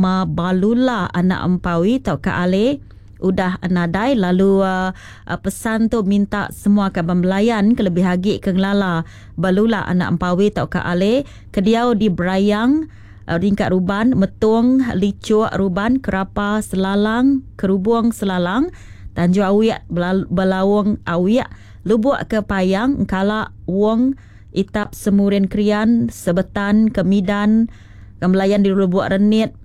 benama Balula anak Empawi tauka Ale udah nadai lalu pesan tu minta semua kaban belayan kelebih agi ke ngelala Balula anak Empawi tauka Ale ke diau di Brayang Ringkat Ruban, Metung, Lichuk, Ruban, Kerapa, Selalang, Kerubung Selalang, Tanjung Awik, Belaung Awik, Lubuk Kepayang, Engkala, Wong, Itap Semurin Krian, Sebetan, Kemidan, Kembelayan di Lubuk Renit,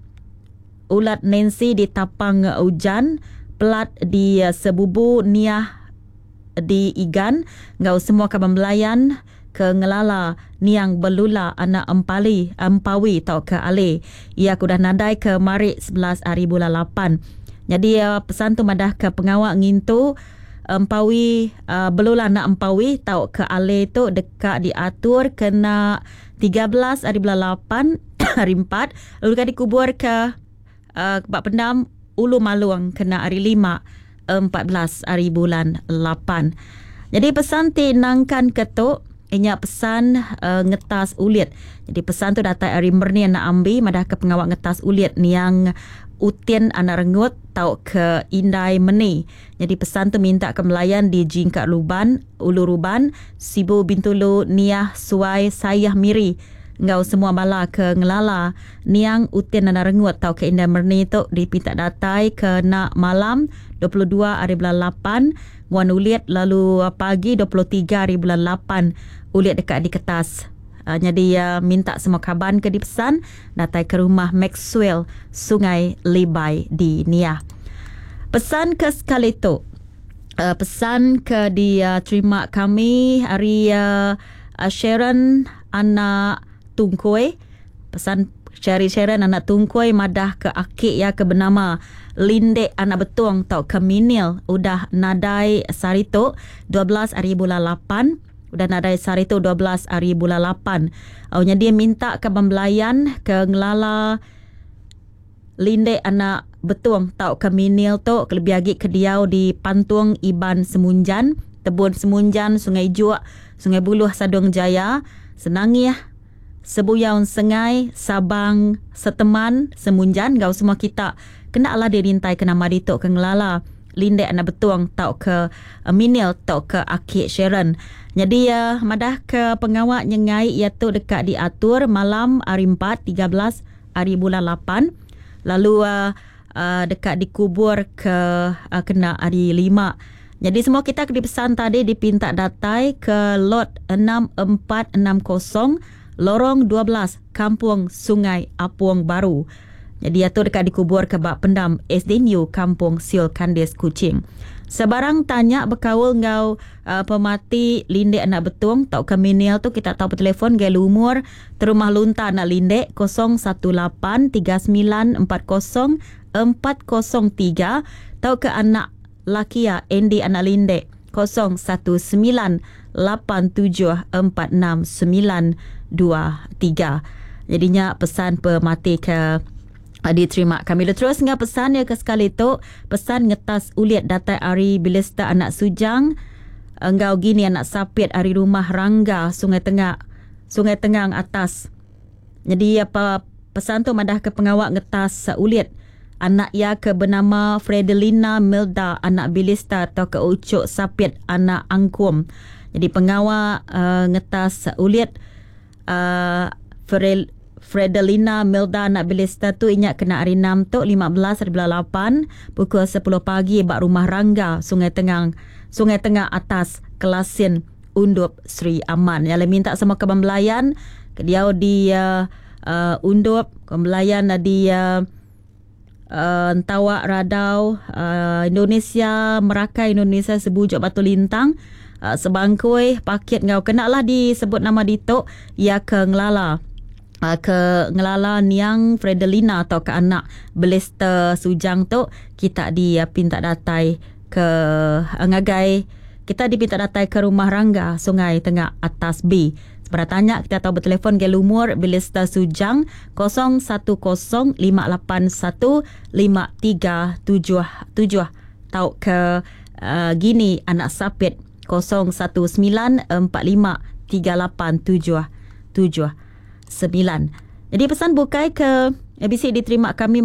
Ulat Nancy di Tapang Ujan, Pelat di Sebubu, Niah di Igan enggau semua kaban belayan ke ngelala niang Belula anak Empali, Empawi tauka Ali. Iya ke udah nadai ke mari 11 hari bulan 8. Nyadi pesan tu madahka pengawa ngintu Empawi Belula anak Empawi tauka Ali tu deka diatur kena 13 hari bulan 8 hari 4 lalu deka dikuburka ba pendam Ulu Malung kena hari 5 14 hari bulan 8. Nyadi pesan ti nangkan ke tu inya pesan ngetas ulit. Nyadi pesan tu datai ari Merni anak Ambi madahka pengawa ngetas ulit niang Utin anak Rengut tauka Indai Meni. Nyadi pesan tu minta ke melayan di Jingka Luban, Ulu Ruban, Sibu Bintulu, Niah, Suai, Sayah Miri enggau semua bala ke ngelala niang Utin anak Rengut tauka Indai Merni tu dipinta datai ke ena malam 22 hari bulan 8 nguan ulit lalu pagi 23 hari bulan 8 ulit deka diketas. Nyadi minta semua kaban ke dipesan datai ke rumah Maxwell Sungai Libai di Niah. Pesan ke sekali tu pesan ke diterima kami ari Sharon anak Tungkoi. Pesan Sherry Sharon anak Tungkoi madah ke aki iya ke benama Lindek anak Betong tauka Minil udah nadai sehari tu 12 hari bulan 8. Udah nadai sehari tu 12 hari bulan 8. Au nyadi minta kaban belayan ke ngelala Lindek anak Betong tauka Minil tu kelebih agi ke diau di Pantung Iban Semunjan, Tebun Semunjan, Sungai Juk, Sungai Buluh Sadong Jaya, Senangih, Sebuyau Sengai, Sabang, Seteman, Semunjan enggau semua kita kena alah dirintai ke nama ditu ke ngelala Lindek anak Betong tauka Minil tauka Aki Sharon. Nyadi madah ke pengawa nyengai iya tu deka diatur malam hari 4, 13 hari bulan 8 lalu deka dikubur ke kena hari 5. Nyadi semua kita ke dipesan tadi dipinta datai ke lot 6460 Lorong 12 Kampung Sungai Apung Baru. Nyadi iya tu deka dikubur ke ba pendam SDNU Kampung Siol Kandis Kuching. Sebarang tanya bekaul enggau pemati Lindek anak Betong tauka Minil tu kita tau betelefon ngagai lumur Terumah Lunta anak Lindek 018 39 40 403 tauka anak laki iya Andy anak Lindek 019 8 7 4 6 9 2 3. Jadi nya pesan pemati ke diterima kami. Lalu terus enggau pesan iya ke sekali tu, pesan ngetas ulit datai ari Bilesta anak Sujang enggau Gini anak Sapit ari rumah Rangga Sungai Tengah Sungai Tengang Atas. Nyadi apa pesan tu madah ke pengawa ngetas ulit anak iya ke benama Fredelina Milda anak Bilista tauka Ucuk Sapit anak Angkum. Jadi pengawa ngetas ulit Fredelina Milda anak Bilista tu inya kena hari 6 tu 15 hari bulan 8 pukul 10 pagi ba Rumah Rangga Sungai Tengang Sungai Tengah Atas Kelasin Undup Sri Aman. Nya alai minta sama kaban belayan ke diau di uh, Undup, kaban belayan di uh, Entawak Radau uh, Indonesia, Merakai Indonesia, Sebujuk Batu Lintang, Sebangkui, Pakit enggau kena lah disebut nama ditu iya ke ngelala ke ngelala niang Fredelina atau ke anak Belester Sujang tu kita dipinta datai ke ngagai kita dipinta datai ke Rumah Rangga Sungai Tengah Atas B. Sebera tanya kita tau betelefon ngagai lumur Belester Sujang 010 581 5377 tauka Gini anak Sapit 019 45 38 779. Jadi pesan bukai ke bisi diterima kami.